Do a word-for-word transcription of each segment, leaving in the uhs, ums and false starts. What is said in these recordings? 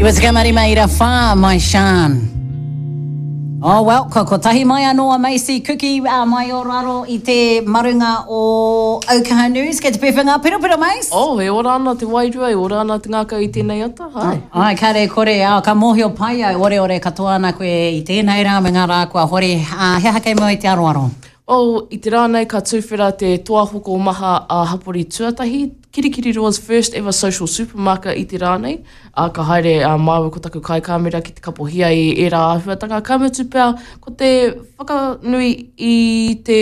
Iwa tekau mā rima ira whā, mai Shan. Oh, well, kua kotahi mai anō a Macy Kuki uh, mai o raro i te marunga o Aukaha News. Kei te pēwhea ngā piropiro, Mace? Oh, e ora ana te wairua, e ora ana te ngākau i tēnei ata, hai. Ai, kare kore, oh, ka mōhio pai au, ore ore katoa ana koe i tēnei rā me ngā rā kua hori. Uh, he aha kei mua i te aroaro? Oh, i te rā nei ka tūwhera te toa hoko maha a hapori tuatahi, Kirikiriroa's first ever social supermarket i te rā nei. A, ka haere a māua ko taku kaikāmera ki te kapohia i ērā āhuatanga. Ka mutu pea, ko te whakanui i te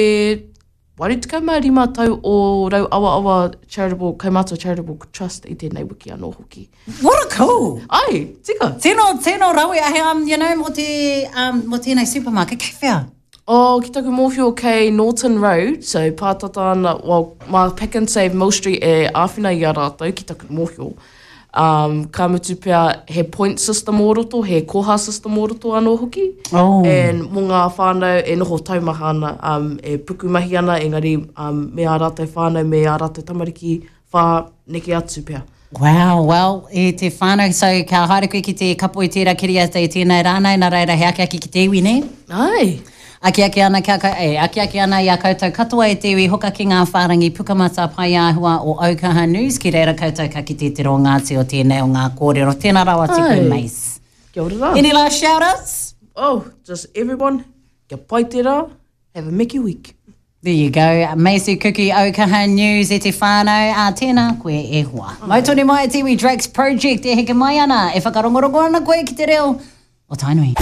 waru tekau mā rima tau o Rauawaawa Charitable, Kaumātua Charitable Trust i tēnei wiki anō hoki. What a cool! Ai, tika! Tino, tino rawe, ahe, um, you know, mō te, um, mō tēnei supermarket, kei whea? Oh, ki taku mōhio kei Norton Road, so pātata ana, well, mā Pack and Save Mill Street e āwhina i a rātou ki taku mōhio. Um, ka mutu pea he point system o roto, he koha system o roto anō hoki. Oh. And mō ngā whānau e noho taumaha ana, um, e pukumahi ana, engari um, me ā rātou whānau, me ā rātou tamariki whā neke atu pea. Wow, well, e te whānau, so ka haere koe ki te kapo i tērā kiriata i tēnei rā nei, nā reira he akiaki ki te iwi, nē? Ai! Akiaki ana, kia, e, akiaki ana i a koutou katoa e te iwi hoka ki ngā whārangi pukamata pai āhua o Aukaha News, ki reira koutou ka kite te rongāti o tēnei o ngā kōrero. Tēnā rawa atu koe, Ai. Mace. Kia ora rā. Any last shout-outs? Oh, just everyone, kia pai te rā, have a Mickey week. There you go. Macy Kuki, Aukaha News e te whānau. A tēnā koe e hoa. Mau tonu mai e te iwi Drake's Project e heke mai ana, e whakarongorongo ana koe ki te reo o Tainui.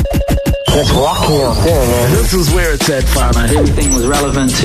That's rocky out there, man. This is where it's at, whānau. Everything was relevant to